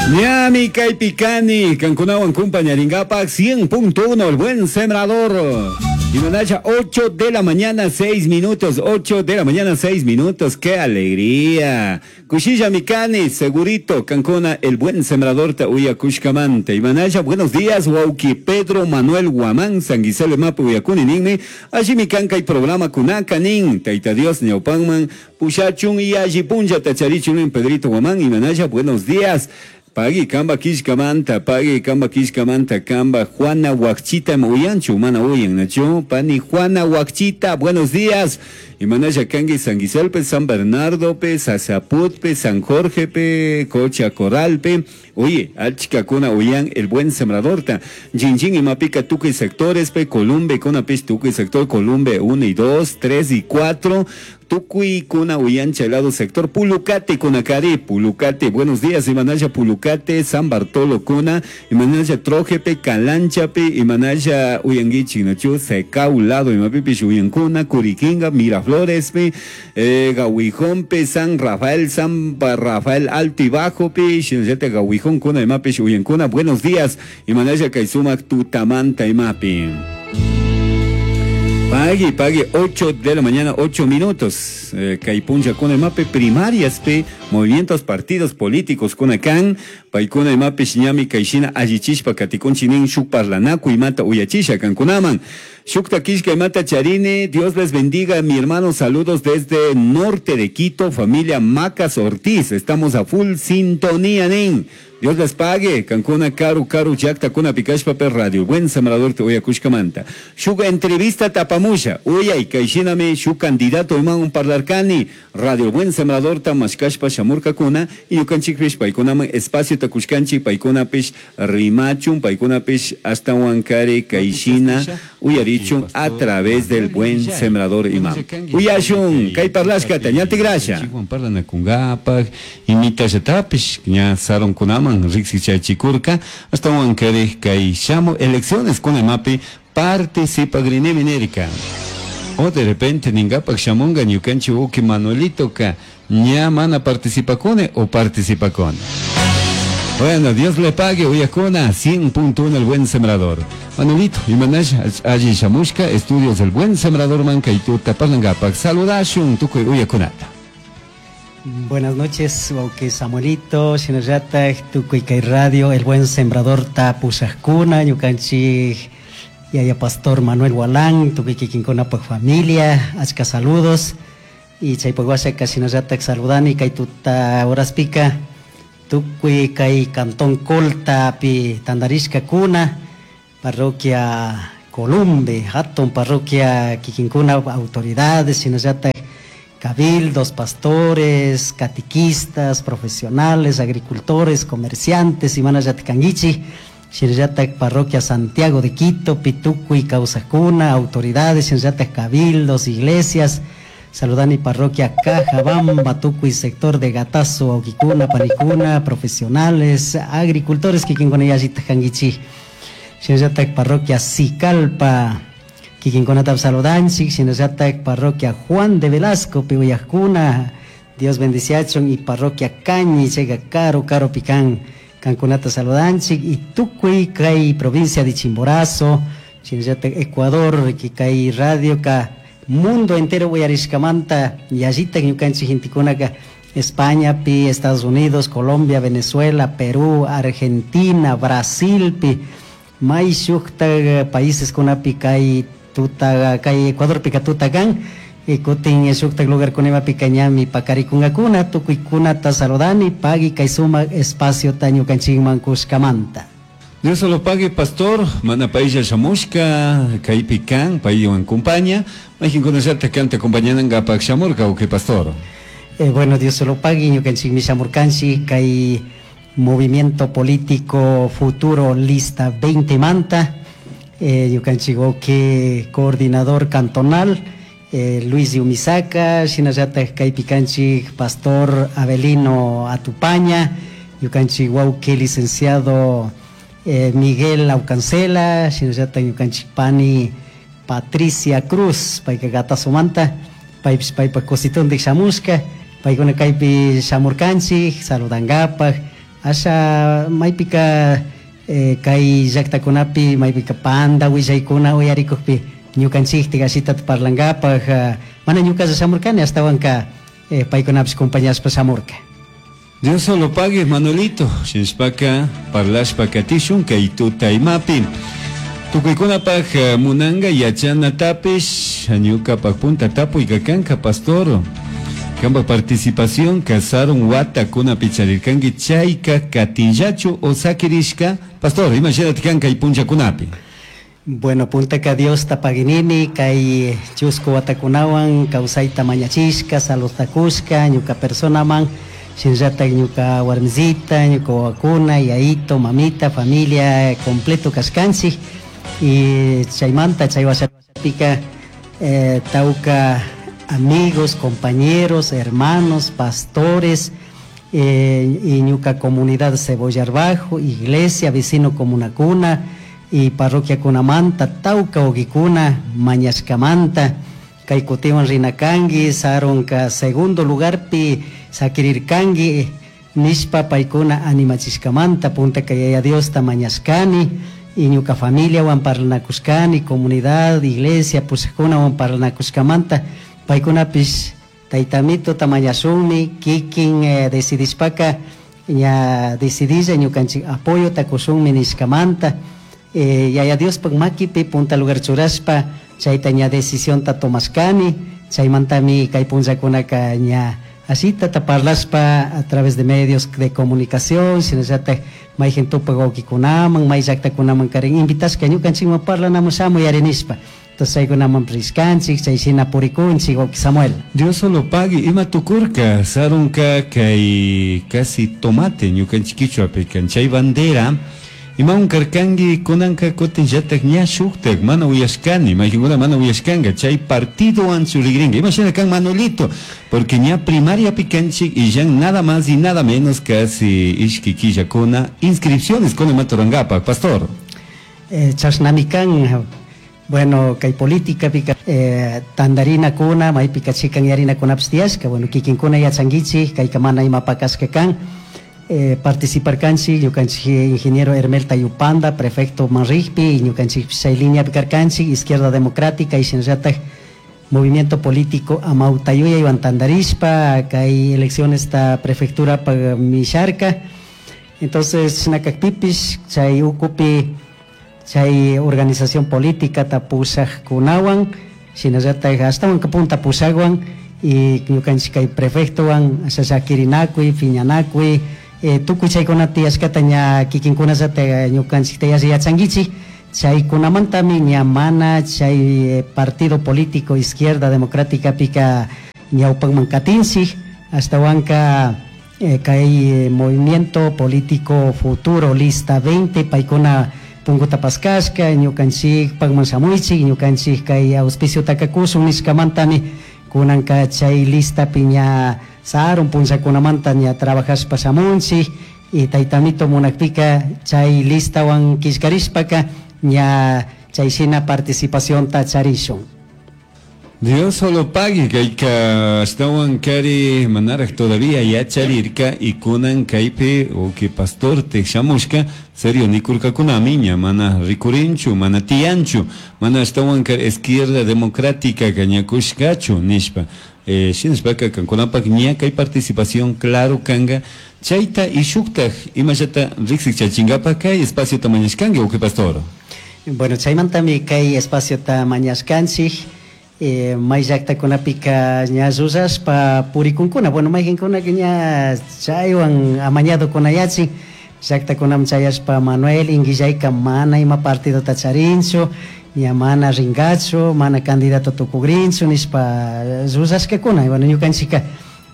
Ñami kaypi kani, kankunawan kumpañarinkapak 100.1 El Buen Sembrador. Imanacha 8 de la mañana 6 minutos, 8 de la mañana 6 minutos, qué alegría. Kushillami kani, segurito, kankuna El Buen Sembrador ta uyakushkamanta. Imanacha, buenos días, wawki Pedro Manuel Guamán, San Gisele mapi uyakuni ninmi, allimi kan kay programa kunaka nin, Tayta Dios ñawpanman pushachun y alli punllata charichun nin Pedrito Guamán, Imanacha, buenos días. Pagui kamba kishkamanta, pagui kamba kishkamanta, kamba Juana Huacchita uyanchu, mana uyan, nachu, pani Juana Huacchita, buenos días. Imanaya kangi San Giselpe, San Bernardo pe, Sasaputpe, San Jorge pe, Cocha Corralpe. Oye, achkakuna uyan el buen sembrador ta. Jinjin imapika tukuy sectores pe, Columbe, kuna pis tukuy sector, Columbe 1 y 2, 3 y 4. Tukuy kuna uyan chelado sector, Pulucate kunakari, Pulucate, buenos días, Imanaya Pulucate, San Bartolo kuna, Imanaya Trojepe, Calanchape, Imanaya uyanguichi, nachu, Secau lado, Imapipish uyankuna, Curiquinga, Miraflores, pe, Gahuijón, San Rafael, San Rafael Alto y Bajo, pe, Shinayate Gahuijón kuna, Imapish uyankuna, buenos días, Imanaya Kaisumac, Tutamanta, Imapi. Pagui, pagui, 8 de la mañana, 8 minutos. Kaypuncha kuna imapi primarias pe, movimientos, partidos políticos kuna kan, paykuna imapi ñami kayshina allichishpa katikunchik nin shuk parlanakuy imata uyachisha kankunaman. Shukta kishka imata charini, Dios les bendiga, mi hermano, saludos desde norte de Quito, familia Macas Ortiz, estamos a full sintonía, nin. Dios les pague, kankuna karu karu llakta kuna pikashpa per radio, buen sembrador te uyakushkamanta. Shuk entrevista tapamusha, uyay kayshinami shuk candidato iman un parlarkani, radio buen sembrador ta mashkashpa shamurkakuna, y ñukanchikpish paykunaman espacio takushkanchik, paykunapish rimachun, paykunapish hasta huancari kayshina uyarichun a través del buen sembrador imam. Uyashun, kay parlashkata, ñatigrasha. Parlanakungapak, imitashatapish, ña sarunkunaman riksichachikurka, hasta huancari kay shamu elecciones con imapi participagrinimi nirka. O de repente ningapak shamunga ñukanchik uki Manuelito ka ña mana participakune o participakune. Bueno, Dios le pague, uyakuna, 100.1 El Buen Sembrador. Manuelito, imanash, allí shamushka, estudios El Buen Sembrador manka y tuta parlangapak. Saludashun, tukuy uyakunata. Buenas noches, wauki Samuelito, shinallatak, tukuy kay radio, El Buen Sembrador ta pushajkuna, ñukanchik yaya pastor Manuel Gualán, tukuy kikinkunapak familia, achka saludos. Y chaypak washaka shinallatak saludani kay tuta horaspika, tukuy kay cantón Colta pi tandarishka kuna, parroquia Columbe, hatun parroquia kikinkuna autoridades, shinallatak cabildos, pastores, catequistas, profesionales, agricultores, comerciantes, imanallata kanguichi, shinallatak parroquia Santiago de Quito, Pitucuy, Causacuna, autoridades, shinallatak cabildos, iglesias, saludani parroquia Cajabamba, Tucuy, sector de Gatazo, Auquicuna, Panicuna, profesionales, agricultores, kikinkuna yallita kanguichi, shinallatak parroquia Sicalpa, kikinkunata saludanchik, shinallatak parroquia Juan de Velasco, Piuyajcuna, Dios bendiciachon, y parroquia Cañi, llega caro, caro picán, kankunata saludanchik, y Tucuy, kay provincia de Chimborazo, shinallatak Ecuador, kay radio ka mundo entero uyarishkamanta, yallita ñukanchik gentekunaka, España pi, Estados Unidos, Colombia, Venezuela, Perú, Argentina, Brasil pi, may shukta países kunapi kay tuta, kay Ecuador pika tutakan, y kutin shukta lugar kunima pika ñami pakarikunkakuna, tukuykunata saludani, pagui kay sumak espacio ta ñukanchikman kushkamanta. Dios lo pague, pastor. Mana pailla shamushka, kaypi kan, paywan compañía. Majin conocerte kan te acompañan gapak shamurka, o qué pastor. Bueno, Dios lo pague, ñukanchik mi shamurkanchik, kay movimiento político futuro lista 20 manta. Ñukanchik que coordinador cantonal, Luis Yumisaka, shinallata kaypi kanchik pastor Abelino Atupaña, ñukanchik wawki licenciado Miguel Aucancela, shinallata ñukanchik pani Patricia Cruz, payka Gatazomanta, paypis paypa cositondik shamushka, paykuna kaypi shamurkanchik, saludangapak, Asha maypika kay llaqtakunapi maypika panda willaykuna uyarikuqpi ñukanchiktik ashitata parlankapaq mana ñuqalla shamurkani astawanka paykunapish compañashpa shamurka. Dios solo pague, Manuelito. Shinashpaka parlashpa katishun kay tuta imapi. Tukuykunapaq munanga yachanatapish ñukapak punta tapuyka kanka pastor. Kanpak participación sarun watakunapi charirkanki chayka katinllachu o sakirishka. Pastor, imashinataq kan kay punllakunapi? Bueno, puntaka Diosta paginini kay chusku watakunawan kawsayta mañachishka, saludta kushka, ñuka personaman, shinllatak ñuka warmisita, ñuka wawakuna, yayito, mamita, familia completo kashkanchik. Y chaymanta chay washapika tawka amigos, compañeros, hermanos, pastores, y ñuka comunidad Cebollar Bajo, iglesia, vecino comunakuna, y parroquia kunamanta, tawka wawkikuna, mañashkamanta, kay kutiwan rinakanki, sarunka segundo lugarpi sakirirkanki, nishpa paykuna animachishkamanta, puntaka Yaya Diosta mañashkani, y ñuka familiawan parlanakushkani, comunidad, iglesia, pushakkunawan parlanakushkamanta, paykunapish taytamituta mañashunmi, kikin decidishpaka, ña decidilla ñukanchik apoyota kushunmi nishkamanta, Yaya Diospak makipi punta lugar churashpa, chayta ña decisionta tomashkani, chaymantami kay punllakunaka ña ashitata parlashpa a través de medios de comunicación, shinallatak mayjin tupak wawkikunaman, may llaktakunaman karin invitashka ñukanchikman parlanamun shamuy ari nishpa. Entonces chaykunaman rishkanchik, chay shina purikunchik, wawki Samuel. Dios solo pague, ima tukurka, sarunka kay casi tomate ñukanchik kichwapi kan chay bandera, imawan karkanki kunanka kutinllatak ña shuktak mana uyashkani, mayqinkuna mana uyashkanka, chay partidowan churigrinka. Ima shina kan Manuelito, porque ña primariapi kanchik y ya nada más y nada menos casi ishki killakuna inscripciones con imaturankapak, pastor. Chashnami kan, bueno, kay política pika, tandarinakuna, maypika chikanyarinakuna tiyashka, bueno, kikinkuna yachankichik, kayka mana imapakashka kan. Participarkanchik, ñukanchik ingeniero Hermel Tayupanda, prefecto Manrigpi, ñukanchik chay lineapi karkanchik, Izquierda Democrática y shinallatak Movimiento Político Amawtayuyaywan tandarishpa, kay elecciones ta prefectura pa misharka. Entonces, shinakakpipish, chay ukupi, chay organización política ta pushakkunawan, shinallatak ashtawan punta pushakwan, y ñukanchik kay prefectowan, ashashakirinakuy, piñanakuy, tukuy chaykuna tiyashkata ña kikinkunallata ñukanchikta yalli yachankichik, chaykunamantami ña mana chay partido político Izquierda Democrática pika ñawpakman katinchik, ashtawanka kay movimiento político futuro lista 20 paykuna punkuta paskashka, ñukanchik pakman shamuychik, ñukanchik kay auspiciotaka kushun nishkamantami kunanka chay listapi ña sarun punllakunamanta ña trabajashpa shamunchik, y taytamito munakpika chay listawan killkarishpaka ña chay shina participacionta charishun. Dios solo pague kayka ashtawan kari manaraj todavía yacharirka y kunan kaypi o que pastor te shamushka serio nikurkakunami ña mana rikurinchu mana tiyanchu mana ashtawan kari izquierda democrática kañakushkachu nishpa. Shinashpaka kankunapak ña kay participación claro kanga chayta y shuktaj imallata riksik chachinkapak kay espaciota mañashkanki o que pastor. Bueno, chaymantami kay espaciota mañashkanchik. May llaktakunapika ña llullashpa purikunkuna, bueno, mayqinkunaka ña chaywan amañado kunayachin, llaktakunaman chayashpa Manuel Inguillayka mana ima partidota charinchu, ña mana rinkachu, mana candidato tukugrinchu nishpa llullashkakuna. Y bueno, ñukanchika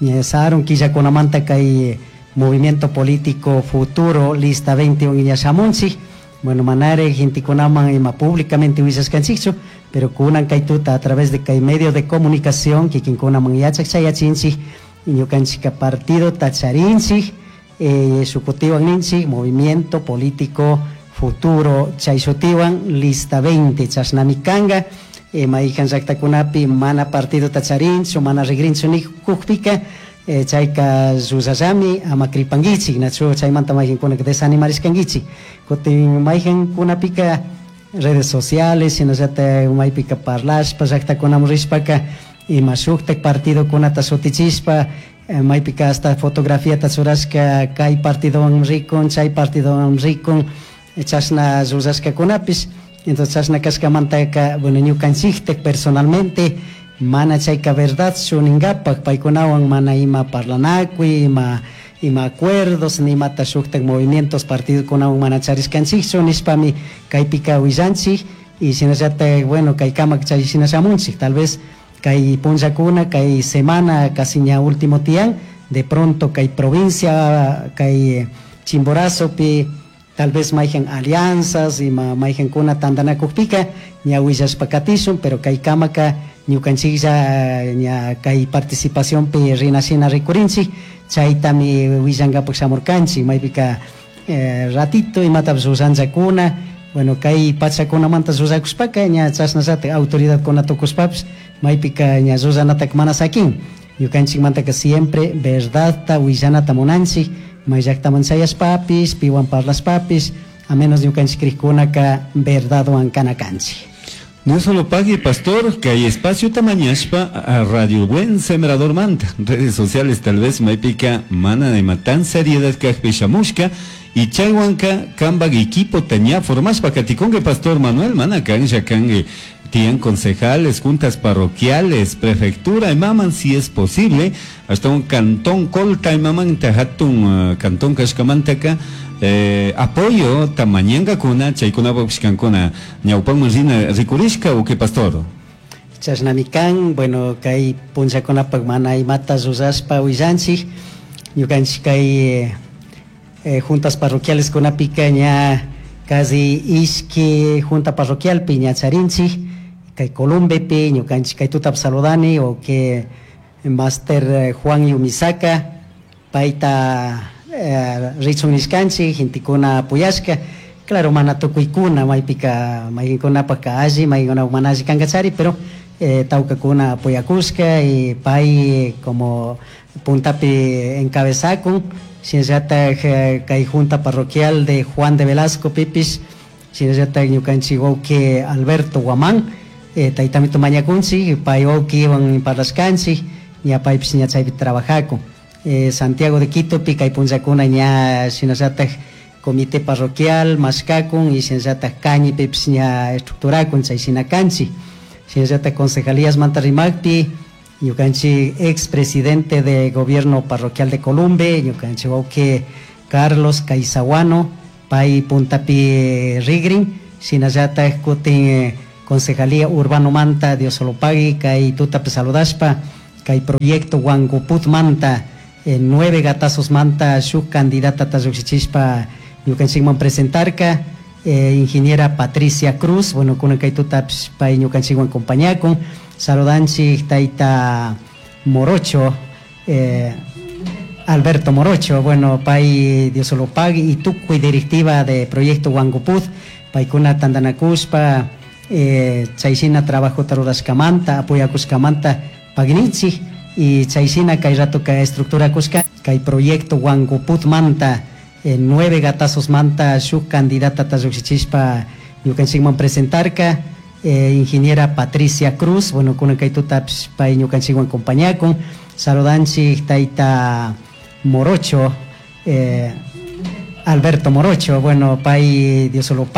ña sarun killakunamanta kay movimiento político futuro lista 21 ña shamunchik. Bueno, manare gentekunaman ima públicamente willashkanchikchu, pero kunan kay tuta a través de kay medio de comunicación kikinkunaman yachak chayachinchik, ñukanchika partido tacharinchik, shukutiwan ninchik, movimiento político futuro chayshutiwan lista 20 chashnami kanga, maykan llaktakunapi mana partido tacharinchu, mana rigrinchu nikukpika, Chayka llullallami ama kripankichik nachu chaymanta mayqinkunaka desanimarishkankichik kutin mayqinkunapika redes sociales shinallatak maypika parlashpa llaktakunaman rishpaka ima shuktak partidokunata shutichishpa maypika hasta fotografiata churashka kay partidowan rikun chay partidowan rikun chashna llullashkakunapish. Entonces chashna kashkamantaka bueno ñukanchiktak personalmente mana chayka verdadchu ninkapak paykunawan mana ima parlanakuy ima acuerdos nimata shuktak movimientos partidokunawan mana charishkanchikchu nishpami kaypika willanchik y shinallatak bueno kay kamak chay shina shamunchik tal vez kay punllakuna kay semana casi ña último tiyan de pronto kay provincia kay Chimborazopi tal vez mayhan alianzas ima mayhankuna tantanakukpika ña willashpa katishun pero kay kamaka ñukanchiklla ña kay participacionpi rinashina rikurinchik chaytami willankapak shamurkanchik maypika ratito imatapish llullankakuna bueno kay pachakunamanta llullakushpaka ña chashnallatak autoridadkuna tukushpapish maypika ña llullanataka mana sakin ñukanchikmantaka siempre verdadta willanata munanchik may llaktaman chayashpapish piwan parlashpapish a menos ñukanchik krikkunaka verdadwan kana kanchik. No solo pague, pastor, que hay espacio tamañashpa a Radio Buen Sembrador Manta. Redes sociales tal vez maypika mana de matan seriedad kajpi shamushka y chaywanka kambag equipo taña formashpa katikunge pastor Manuel mana kanja kange tian concejales, juntas parroquiales, prefectura y maman si es posible, hasta un cantón colta y maman tajatun cantón kashkamantaka apoyo tamañanga kuna chaykuna kuna ñawpanman rina rikurishka o qué pastor. Chashnami kan, bueno kay punllakunapak mana imata llullashpa willanchik ñukanchik kay juntas parroquiales kunapika ña casi ishki junta parroquialpi ña charinchik kay Columbepi ñukanchik kay tutap saludani o que Master Juan Yumisaka payta richun nishkanchik gentekuna apoyashka claro mana tukuykuna maypika mayqinkunapaka alli mayqinkunapak mana alli kankachari pero tawkakuna apoyakushka y pay como puntapi encabezakun shinallatak kay junta parroquial de Juan de Velasco pipis shinallatak ñukanchik wawqi Alberto Guamán taytamito mañakunchik pay wawqiwan parlashkanchik ña paypish ña chaypi trabajakun. Santiago de Quitopi kay punllakuna ña shinallatak comité parroquial mashkakun y shinallatak Cañipipish ña estructurakun chay shina kanchik shinallatak concejalías manta rimakpi ñukanchik expresidente de gobierno parroquial de Columbe ñukanchik wawqi Carlos Caizahuano pay puntapi rigrin shinallatak kutin concejalía urbano manta Dios solo pague kay tutapi saludashpa kay proyecto Huangoput manta 9 gatazos manta shuk candidata ta llukshichishpa ñukanchikman presentarka ingeniera Patricia Cruz bueno kunan kay tutapish pay ñukanchikwan compañakun saludanchik tayta Morocho Alberto Morocho bueno pay Dios solo pague y tukuy directiva de proyecto Huangoput paykuna tantanakushpa chayshina trabajota rurashkamanta apoyakushkamanta pagninchik y chayshina kay rato kay estructura kushka kay proyecto Huangoput manta 9 gatazos manta shuk candidata ta llukshichishpa ñukanchikman presentarka ingeniera Patricia Cruz bueno kunan kay tutapish pay ñukanchikwan compañakun saludanchik tayta Morocho Alberto Morocho bueno pay Dios solo